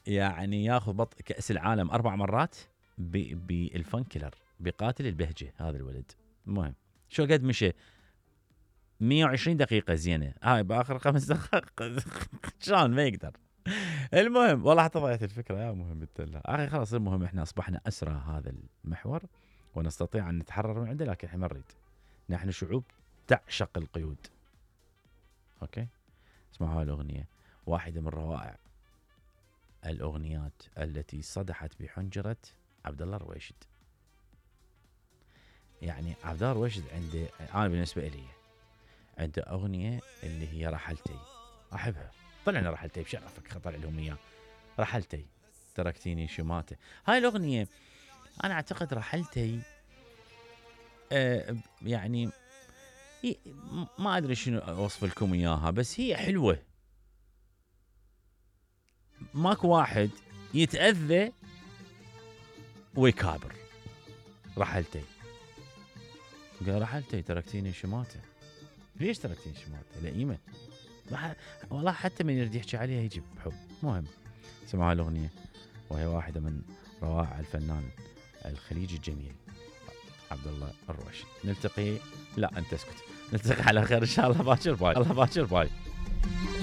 يعني ياخذ كأس العالم 4 مرات بالفن كيلر، بقاتل البهجة هذا الولد. المهم شو قد مشى 120 دقيقة زينة، هاي بآخر 5 دقائق شلون ما يقدر. المهم والله حتى ضيعت الفكرة يا مهم التلة أخي. خلاص المهم إحنا أصبحنا أسرى هذا المحور ونستطيع أن نتحرر من عنده، لكن إحنا ما نريد. نحن شعوب تعشق القيود. أوكي، اسمعوا هاي الأغنية، واحدة من روائع الأغنيات التي صدحت بحنجرة عبد الله الرويشد. يعني عبد الله الرويشد عنده، أنا بالنسبة إلي عنده أغنية اللي هي رحلتي، أحبها. طلعنا رحلتي بشرفك، خطر لهم إياه. رحلتي تركتيني شماتة. هاي الأغنية أنا أعتقد رحلتي يعني ما أدري شنو أوصف لكم إياها، بس هي حلوة. ماكو واحد يتأذى ويكابر. رحلتي، قال رحلتي تركتيني شماتة. ليش تركتيني شماتة؟ لئيمة والله، حتى من يريد يحكي عليها يجيب حب. مهم سمعوا الأغنية، وهي واحدة من روائع الفنان الخليجي الجميل عبد الله الرويشد. نلتقي، لا أنت اسكت، نلتقي على خير إن شاء الله باكر باي. الله باكر باي.